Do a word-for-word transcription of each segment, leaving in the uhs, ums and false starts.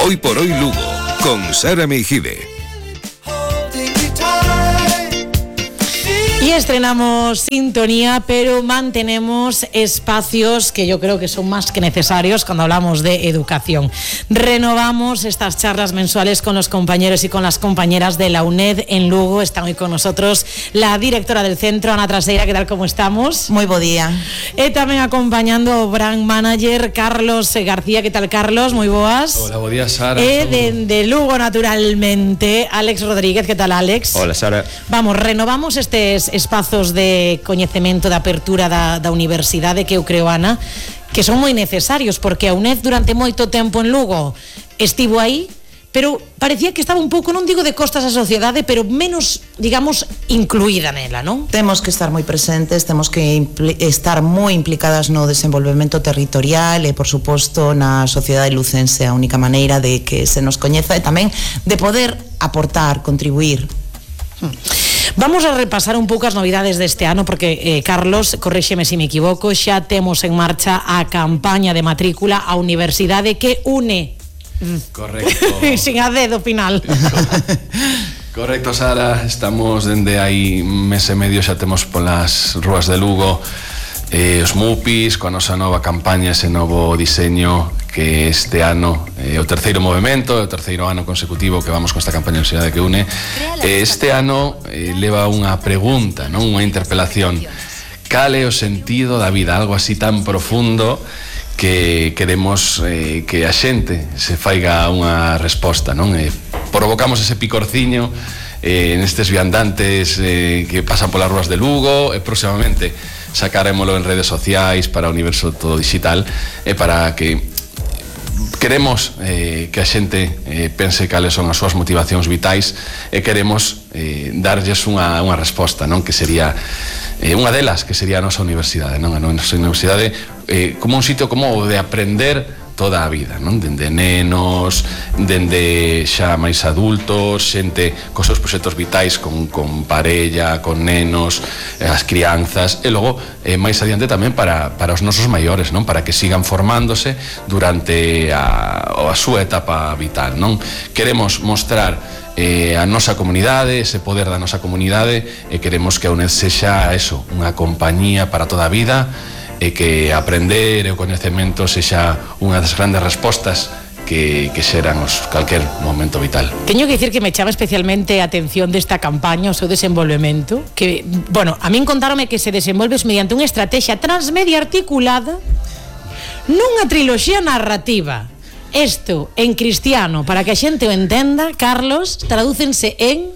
Hoy por hoy Lugo, con Sara Meijide. Y estrenamos sintonía, pero mantenemos espacios que yo creo que son más que necesarios cuando hablamos de educación. Renovamos estas charlas mensuales con los compañeros y con las compañeras de la UNED en Lugo. Está hoy con nosotros la directora del centro, Ana Traseira. ¿Qué tal, cómo estamos? Muy buen día. E tamén acompañando o brand manager Carlos García. ¿Qué tal, Carlos? Muy boas. Hola, buen día, Sara. E de, de Lugo, naturalmente, Alex Rodríguez. ¿Qué tal, Alex? Hola, Sara. Vamos, renovamos estes espazos de coñecemento, de apertura da, da universidade, que eu creo, Ana, que son moi necesarios, porque a UNED durante moito tempo en Lugo estivo aí, pero parecía que estaba un pouco, non digo de costas a sociedade, pero menos, digamos, incluída nela, non? Temos que estar moi presentes, temos que impl- estar moi implicadas no desenvolvemento territorial e, por suposto, na sociedade lucense. A única maneira de que se nos coñeza e tamén de poder aportar, contribuir. Hmm. Vamos a repasar un pouco as novidades deste ano, porque, eh, Carlos, corréxeme se me equivoco, xa temos en marcha a campaña de matrícula á universidade que une. Correcto. Sin a dedo final. Correcto, Sara. Estamos dende aí mes e medio, xa temos polas rúas de Lugo eh, os MUPIs, coa nosa nova campaña, ese novo diseño, que este ano é eh, o terceiro movimento, é o terceiro ano consecutivo que vamos con esta campaña de Universidade que une. Eh, este ano eh, leva unha pregunta, non, unha interpelación. Cal é o sentido da vida? Algo así tan profundo que queremos eh, que a xente se faiga unha resposta, non? Eh, provocamos ese picorciño eh, nestes viandantes eh, que pasan polas rúas de Lugo, e próximamente sacarémolo en redes sociais para o universo todo digital, e para que queremos eh, que a xente eh, pense cales son as súas motivacións vitais, e queremos eh, darlles unha, unha resposta, non? Que sería eh, unha delas, que sería a nosa universidade, non? A nosa universidade eh, como un sitio como de aprender toda a vida, non? Dende nenos, dende xa máis adultos, xente cos seus proxectos vitais con, con parella, con nenos, as crianzas, e logo eh, máis adiante tamén para, para os nosos maiores, non? Para que sigan formándose durante a, a súa etapa vital, non? Queremos mostrar eh, a nosa comunidade, ese poder da nosa comunidade, e queremos que a UNED sexa eso, unha compañía para toda a vida, e que aprender e o coñecemento sexa unha das grandes respostas que, que xeran os calquer momento vital. Teño que dicir que me chama especialmente a atención desta campaña, o seu desenvolvemento, que, bueno, a min contáronme que se desenvolves mediante unha estrategia transmedia articulada nunha triloxía narrativa. Isto, en cristiano, para que a xente o entenda, Carlos, tradúcense en...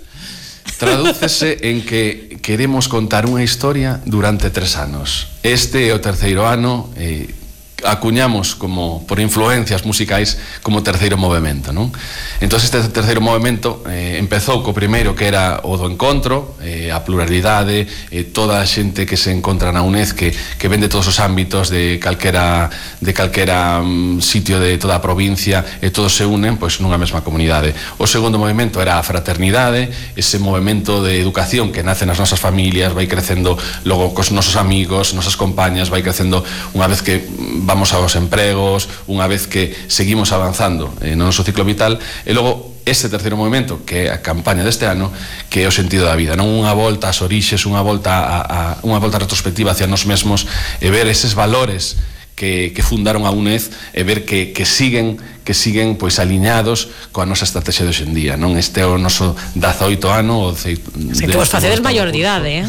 Tradúcese en que queremos contar unha historia durante tres anos. Este é o terceiro ano, eh, acuñamos como por influencias musicais como terceiro movimento, non? Entón este terceiro movimento eh, empezou co primeiro, que era o do encontro, eh, a pluralidade, eh, toda a xente que se encontra na UNED, que, que ven de todos os ámbitos, de calquera, de calquera um, sitio de toda a provincia, e todos se unen pois nunha mesma comunidade. O segundo movimento era a fraternidade, ese movimento de educación que nace nas nosas familias, vai crecendo logo cos nosos amigos, nosas compañas, vai crecendo unha vez que vamos aos empregos, unha vez que seguimos avanzando eh, no noso ciclo vital, e logo este terceiro movimento, que é a campaña deste ano, que é o sentido da vida, non unha volta ás orixes, unha volta a, a unha volta retrospectiva hacia nós mesmos, e ver eses valores que, que fundaron a UNED, e ver que, que siguen que siguen pois aliñados coa nosa estrategia de hoxendía, non? Este é o noso dezaoito ano, o Se que vos facedes maioridade, eh?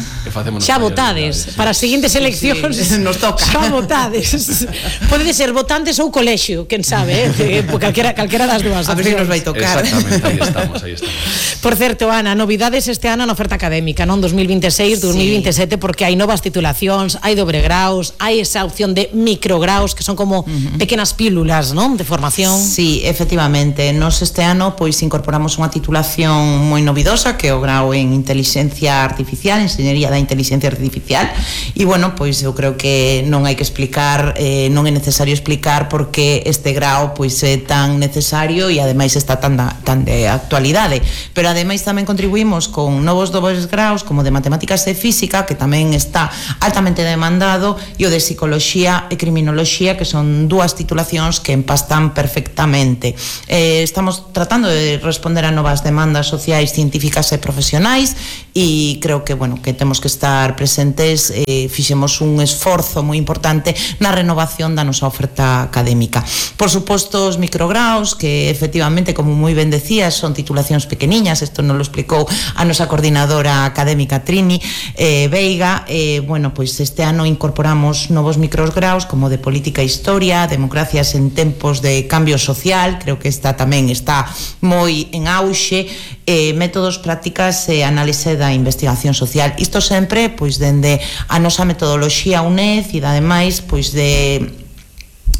Xa votades, para as seguintes eleccións, sí, sí, nos toca. Xa votades. Pode ser votantes ou colexio, quen sabe, eh? Calquera, calquera das dúas. A ver se nos vai tocar. Exactamente, aí estamos, aí estamos. Por certo, Ana, novidades este ano na oferta académica, non? dos mil veintiséis, dos mil veintisiete, sí. Porque hai novas titulacións, hai dobre graus, hai esa opción de micrograus, que son como uh-huh. pequenas pílulas, non? De formación. Sí, efectivamente, nos este ano pois incorporamos unha titulación moi novidosa, que é o grau en Inteligencia Artificial, Enxeñería da Inteligencia Artificial, e bueno, pois eu creo que non hai que explicar, eh, non é necesario explicar por que este grau pois é tan necesario e ademais está tan, da, tan de actualidade, pero ademais tamén contribuímos con novos dobles graus como de Matemáticas e Física, que tamén está altamente demandado, e o de Psicoloxía e Criminoloxía, que son dúas titulacións que empastan perfectamente perfectamente. Eh, estamos tratando de responder a novas demandas sociais, científicas e profesionais e creo que, bueno, que temos que estar presentes. Eh, fixemos un esforzo moi importante na renovación da nosa oferta académica. Por suposto, os micrograos, que efectivamente, como moi ben decías, son titulacións pequeniñas, isto nos lo explicou a nosa coordinadora académica Trini eh, Veiga. Eh, bueno, pois este ano incorporamos novos micrograos como de política e historia, democracias en tempos de cambio social, creo que esta tamén está moi en auxe, eh, métodos, prácticas e análise da investigación social. Isto sempre, pois, dende a nosa metodoloxía UNED e, ademais, pois, de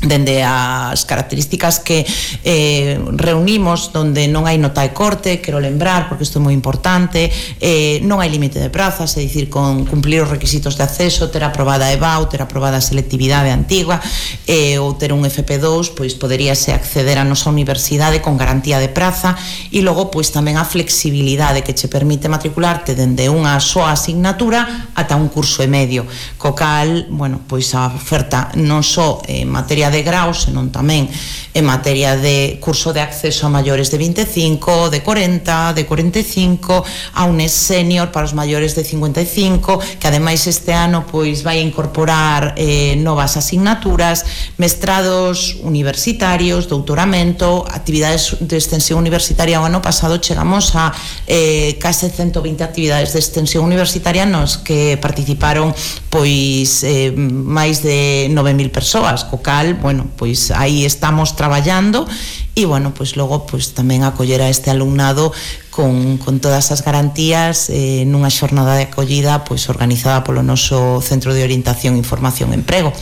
dende as características que eh, reunimos, donde non hai nota de corte, quero lembrar, porque isto é moi importante, eh, non hai límite de prazas, é dicir, con cumplir os requisitos de acceso, ter aprobada a E B A U, ter aprobada a selectividade antigua, eh, ou ter un F P dous, pois poderíase acceder á nosa universidade con garantía de praza, e logo, pois, tamén a flexibilidade que che permite matricularte dende unha soa asignatura ata un curso e medio, co cal, bueno, pois a oferta non só en materia de graus, senón tamén en materia de curso de acceso a maiores de vinte e cinco, de corenta, de cuarenta e cinco, a un senior para os maiores de cincuenta e cinco, que ademais este ano pois vai incorporar eh, novas asignaturas, mestrados universitarios, doutoramento, actividades de extensión universitaria. O ano pasado chegamos a eh, case ciento veinte actividades de extensión universitaria nos que participaron pois eh, máis de nove mil persoas, co cal, bueno, pois aí estamos traballando e, bueno, pois logo pois tamén acoller a este alumnado con, con todas as garantías eh, nunha xornada de acollida pois organizada polo noso Centro de Orientación, Información e Emprego.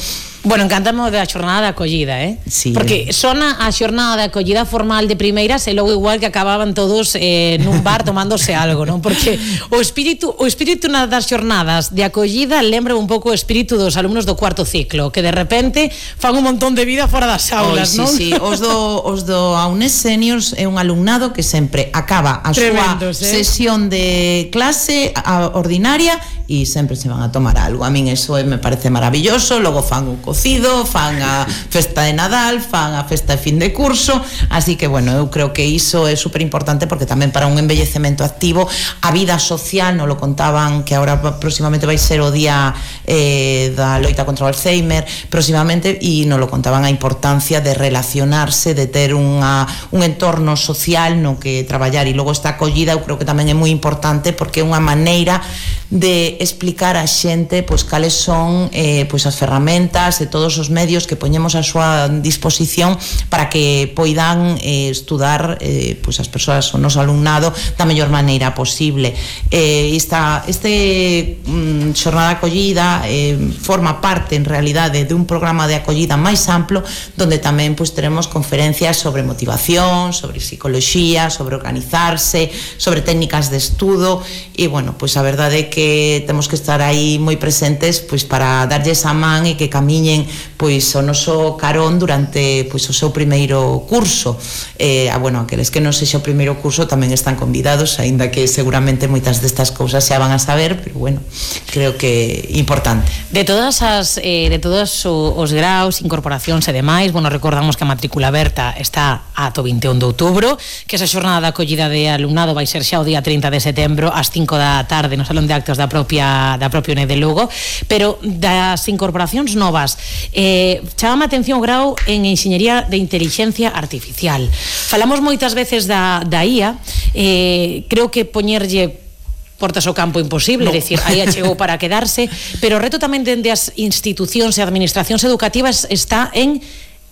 Bueno, encantamos da xornada de acollida, eh? Sí, porque sona a xornada de acollida formal de primeiras e logo igual que acababan todos eh, nun bar tomándose algo, non? Porque o espírito o espírito das xornadas de acollida lembra un pouco o espírito dos alumnos do cuarto ciclo, que de repente fan un montón de vida fora das aulas, oh, sí, non? Sí, os do, os do AUNES Seniors é un alumnado que sempre acaba a Tremendos, súa eh? sesión de clase a ordinaria e sempre se van a tomar algo. A min eso me parece maravilloso, logo fan o cocido, fan a festa de Nadal, fan a festa de fin de curso, así que, bueno, eu creo que iso é super importante porque tamén para un envellecemento activo, a vida social, non lo contaban, que agora próximamente vai ser o día eh, da loita contra o Alzheimer, próximamente, e non lo contaban a importancia de relacionarse, de ter unha, un entorno social no que traballar, e logo esta acollida eu creo que tamén é moi importante porque é unha maneira de explicar a xente pois cales son eh, pois as ferramentas e todos os medios que poñemos a súa disposición para que poidan eh, estudar eh, pois as persoas, o noso alumnado da mellor maneira posible. Eh, esta, este mm, xornada de acollida eh, forma parte en realidade de un programa de acollida máis amplo donde tamén pois teremos conferencias sobre motivación, sobre psicoloxía, sobre organizarse, sobre técnicas de estudo e, bueno, pois a verdade é que que temos que estar aí moi presentes pois para darlles a man e que camiñen pois o noso carón durante pois o seu primeiro curso. Eh, ah, bueno, aqueles que non sexa o primeiro curso tamén están convidados, aínda que seguramente moitas destas cousas xa van a saber, pero bueno, creo que é importante. De todas as eh, de todos os graus, incorporacións e demais, bueno, recordamos que a matrícula aberta está ata o vinte e un de outubro, que esa xornada de acollida de alumnado vai ser xa o día trinta de setembro ás cinco da tarde no Salón de Actos da propia da propia UNED de Lugo, pero das incorporacións novas, eh, chamame a atención o grau en Enxeñería de Intelixencia Artificial. Falamos moitas veces da, da I A, eh, creo que poñerlle portas ao campo imposible, no. É dicir, aí chegou para quedarse, pero o reto tamén dende as institucións e administracións educativas está en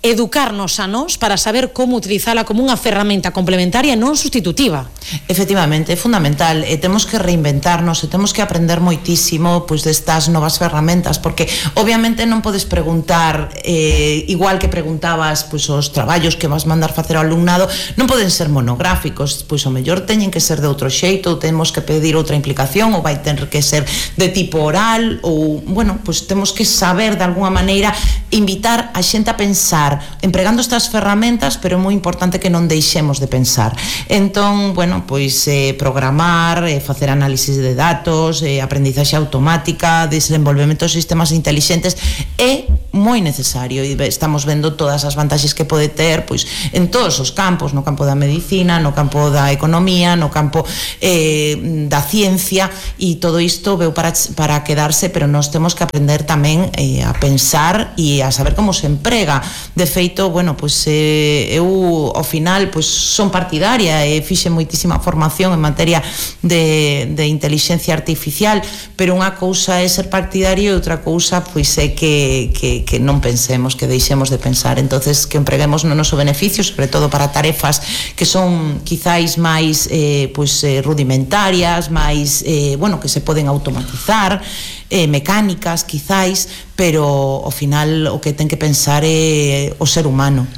educarnos a nós para saber como utilizala como unha ferramenta complementaria e non sustitutiva. Efectivamente, é fundamental, e temos que reinventarnos e temos que aprender moitísimo pois destas novas ferramentas, porque obviamente non podes preguntar eh, igual que preguntabas pois os traballos que vas mandar facer ao alumnado, non poden ser monográficos, pois o mellor teñen que ser de outro xeito, ou temos que pedir outra implicación, ou vai ter que ser de tipo oral, ou, bueno, pois temos que saber de alguna maneira invitar a xente a pensar empregando estas ferramentas, pero é moi importante que non deixemos de pensar. Entón, bueno, pois eh, programar, eh, facer análisis de datos, eh, aprendizaxe automática, desenvolvemento de sistemas intelixentes é moi moi necesario e estamos vendo todas as vantaxes que pode ter pois en todos os campos, no campo da medicina, no campo da economía, no campo eh, da ciencia, e todo isto veu para, para quedarse, pero nós temos que aprender tamén eh, a pensar e a saber como se emprega. De feito, bueno, pois eh, eu ao final pois son partidaria e fixe moitísima formación en materia de, de inteligencia artificial, pero unha cousa é ser partidario e outra cousa pois é que, que, que non pensemos, que deixemos de pensar. Entonces que empreguemos no noso beneficio, sobre todo para tarefas que son quizáis máis eh, pois, eh, rudimentarias, máis eh, bueno, que se poden automatizar, eh, mecánicas quizáis, pero ao final o que ten que pensar é o ser humano.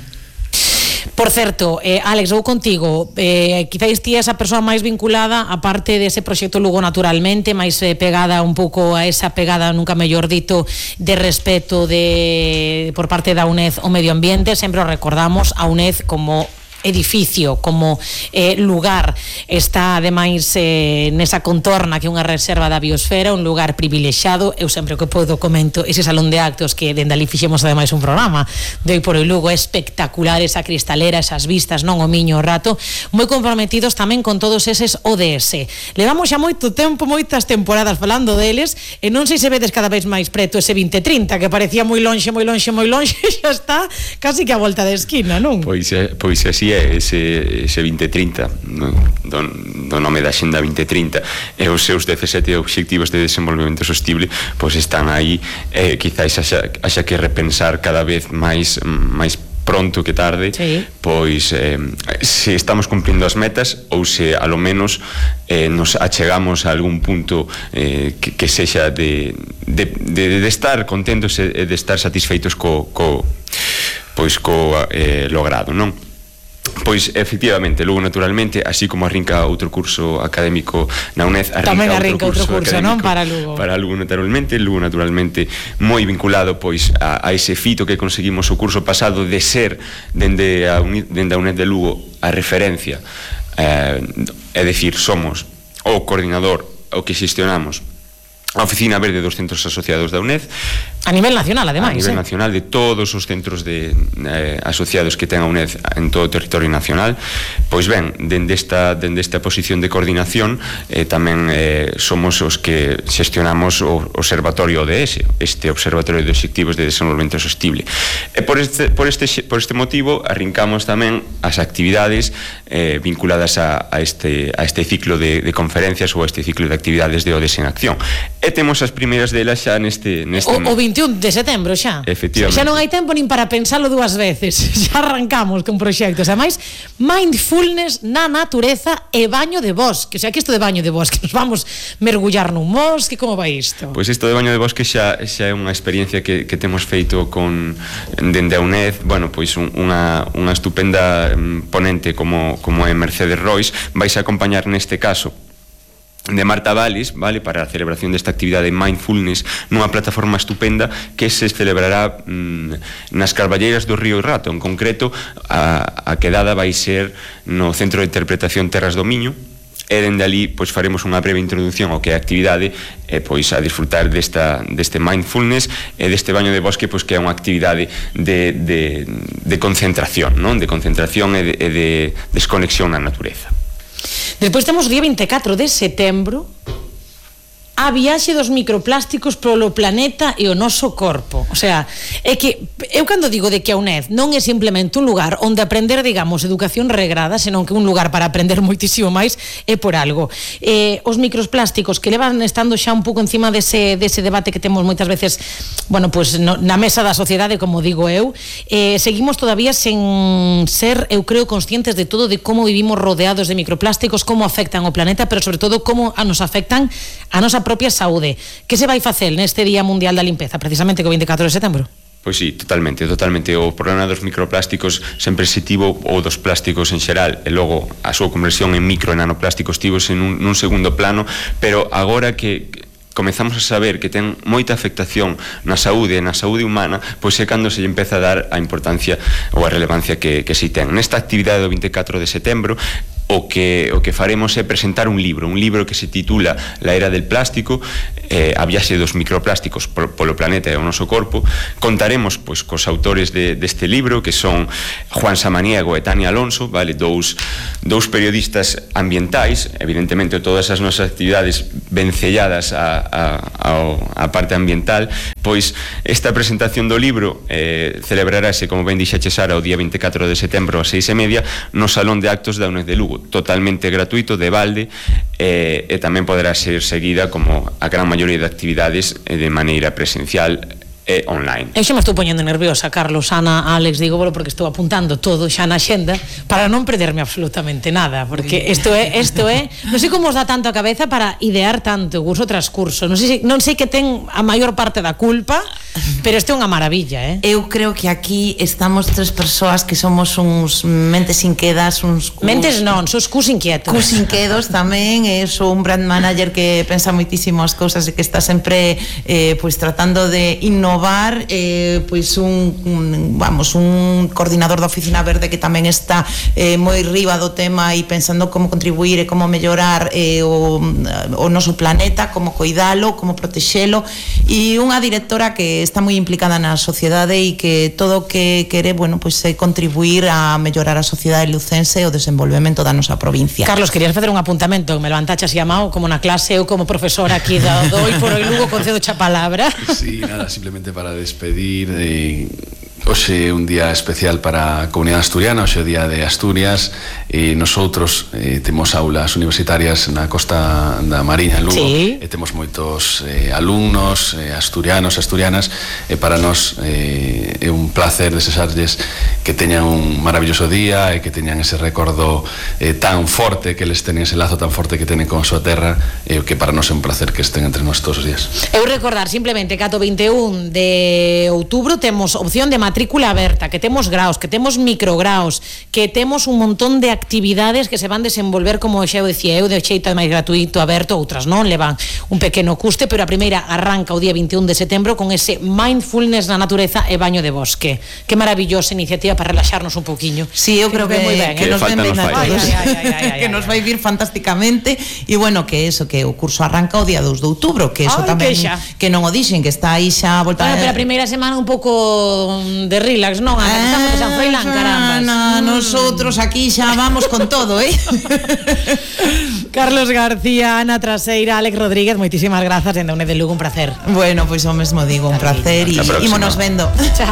Por certo, eh, Álex, vou contigo, eh, quizáis ti esa persoa máis vinculada a parte dese proxecto Lugo Naturalmente, máis eh, pegada un pouco a esa pegada, nunca mellor dito, de respeto de por parte da UNED ao medio ambiente. Sempre recordamos a UNED como edificio, como eh, lugar, está ademais eh, nesa contorna que é unha reserva da biosfera, un lugar privilexiado. Eu sempre que podo comento ese salón de actos que dende ali fixemos ademais un programa de Hoy por Hoy Lugo, é espectacular esa cristalera, esas vistas, non o miño o rato, moi comprometidos tamén con todos eses O D S. Levamos xa moito tempo, moitas temporadas falando deles, e non sei se vedes cada vez máis preto ese vinte trinta, que parecía moi lonxe, moi lonxe, moi lonxe, xa está casi que a volta de esquina, non? Pois, pois así é, ese, ese vinte trinta, no, do, do nome da Xenda vinte trinta, e os seus dezasete obxectivos de desenvolvemento sostible, pois están aí, eh, quizáis haxa, haxa que repensar cada vez máis máis pronto que tarde, sí. Pois eh, se estamos cumplindo as metas ou se a lo menos eh, nos achegamos a algún punto eh, que, que sexa de, de, de, de estar contentos e de estar satisfeitos co, co, pois co eh, logrado, non? Pois, efectivamente, Lugo Naturalmente, así como arrinca outro curso académico na UNED, arrinca, tamén arrinca outro curso, curso non? Para Lugo. Para Lugo Naturalmente, Lugo Naturalmente moi vinculado pois a, a ese fito que conseguimos o curso pasado de ser dende a, dende a UNED de Lugo a referencia, eh, é dicir, somos o coordinador, o que xestionamos a Oficina Verde dos centros asociados da UNED a nivel nacional, ademais, a nivel eh? nacional, de todos os centros de, eh, asociados que ten a UNED en todo o territorio nacional. Pois ben, dende esta, dende esta posición de coordinación eh, tamén eh, somos os que xestionamos o Observatorio O D S, este Observatorio de Obxectivos de Desenvolvemento Sostible, e por este, por este, por este motivo arrincamos tamén as actividades eh, vinculadas a, a, este, a este ciclo de, de conferencias ou a este ciclo de actividades de O D S en acción, e temos as primeiras delas xa neste, neste o, o veintiún de setembro xa. Efectivamente. Xa non hai tempo nin para pensalo dúas veces. Xa arrancamos con proxectos. Ademais, mindfulness na natureza e baño de bosque. O sea, que isto de baño de bosque, nos vamos mergullar nun bosque, como vai isto? Pois isto de baño de bosque xa, xa é unha experiencia que, que temos feito con dende a UNED. Bueno, pois un, unha, unha estupenda ponente como, como é Mercedes Rois, vais a acompañar neste caso de Marta Valis, vale, para a celebración desta actividade Mindfulness nunha plataforma estupenda que se celebrará mmm, nas Carballeiras do Río Rato. En concreto, a, a quedada vai ser no Centro de Interpretación Terras do Miño, e dende ali pois faremos unha breve introducción ao que é a actividade e pois a disfrutar desta, deste mindfulness e deste baño de bosque, pois que é unha actividade de, de, de concentración, non? De concentración e de, e de desconexión na natureza. Despois temos o día vinte e catro de setembro, a viaxe dos microplásticos polo planeta e o noso corpo. O sea, é que eu cando digo de que a UNED non é simplemente un lugar onde aprender, digamos, educación regrada, senón que un lugar para aprender moitísimo máis, é por algo. Eh, os microplásticos que levan estando xa un pouco encima dese, dese debate que temos moitas veces, bueno, pues no, na mesa da sociedade, como digo eu, eh, seguimos todavía sen ser, eu creo, conscientes de todo, de como vivimos rodeados de microplásticos, como afectan o planeta, pero sobre todo como a nos afectan a nosa propia saúde. Que se vai facer neste Día Mundial da Limpeza, precisamente co vinte e catro de setembro? Pois sí, totalmente, totalmente. O problema dos microplásticos sempre se tivo, ou dos plásticos en xeral, e logo a súa conversión en micro e nanoplásticos tivos en un, nun segundo plano, pero agora que comezamos a saber que ten moita afectación na saúde e na saúde humana, pois é cando se lle empeza a dar a importancia ou a relevancia que, que si ten. Nesta actividade do vinte e catro de setembro, o que o que faremos é presentar un libro, un libro que se titula La era del plástico, eh, a viaxe dos microplásticos polo, polo planeta e o noso corpo. Contaremos pois cos autores de, deste libro, que son Juan Samaniego e Tania Alonso, vale, dous, dous periodistas ambientais, evidentemente todas as nosas actividades vencelladas a, a, a parte ambiental. Pois esta presentación do libro eh, celebrarase, como ben dixache Sara, o día veinticuatro de setembro a seis e media no Salón de Actos da U N E D de Lugo, totalmente gratuito, de balde, eh, e tamén poderá ser seguida, como a gran maioría de actividades, eh, de maneira presencial e online. Eu xa me estou poñendo nerviosa, Carlos, Ana, Alex, digo, bueno, porque estou apuntando todo xa na xenda para non perderme absolutamente nada, porque isto é, isto é, non sei como os dá tanto a cabeza para idear tanto curso tras curso, non sei, non sei que ten a maior parte da culpa, pero isto é unha maravilla, eh? Eu creo que aquí estamos tres persoas que somos uns mentes inquedas, uns cus... Mentes non, sos cus inquietos. Cus inquedos tamén, e sou un brand manager que pensa moitísimo as cousas e que está sempre eh, pois tratando de innovar. Eh, pois un, un vamos un coordinador da Oficina Verde que tamén está eh, moi riba do tema e pensando como contribuir e como mellorar eh, o, o noso planeta, como coidalo, como protexelo, e unha directora que está moi implicada na sociedade e que todo o que quere, bueno, pois é contribuir a mellorar a sociedade lucense e o desenvolvemento da nosa provincia. Carlos, querías facer un apuntamento, me levantaches llamado como na clase, eu como profesora aquí da Doi por o Lugo concedo cha palabra. Sí, nada, simplemente para despedir. eh, Hoxe é un día especial para a comunidade asturiana, hoxe é o día de Asturias, e nosotros eh, temos aulas universitarias na costa da Mariña, en Lugo, sí. E temos moitos eh, alumnos eh, asturianos, asturianas, e para nós eh, é un placer desexarlles que teñan un maravilloso día e que teñan ese recordo eh, tan forte, que les teñen ese lazo tan forte que teñen con a súa terra, e eh, que para nós é un placer que estén entre nós todos os días. Eu recordar simplemente que ato vinte e un de outubro temos opción de matrícula aberta, que temos graos, que temos micrograos, que temos un montón de actividades que se van desenvolver, como xa eu dicía eu, de xeito máis gratuito, aberto, outras non, levan un pequeno custe, pero a primeira arranca o día vinte e un de setembro con ese mindfulness na natureza e baño de bosque. Que maravillosa iniciativa para relaxarnos un poquinho. Sí, eu creo que, moi ben, que eh? nos ven ben a todos, Ay, ay, ay, ay, ay, que nos vai vir fantásticamente, e bueno, que eso, que o curso arranca o día dos de outubro, que eso Ay, tamén, que xa. que non o dixen, que está aí xa a volta. Bueno, pero a primeira semana un pouco de relax, non? Estamos de San Froilán, carambas. Na, nosotros aquí xa vamos con todo, eh? Carlos García, Ana Traseira, Alex Rodríguez, moitísimas grazas, en da U N E D de Lugo, un placer. Bueno, pois o mesmo digo, un placer, e ímonos vendo. Chao.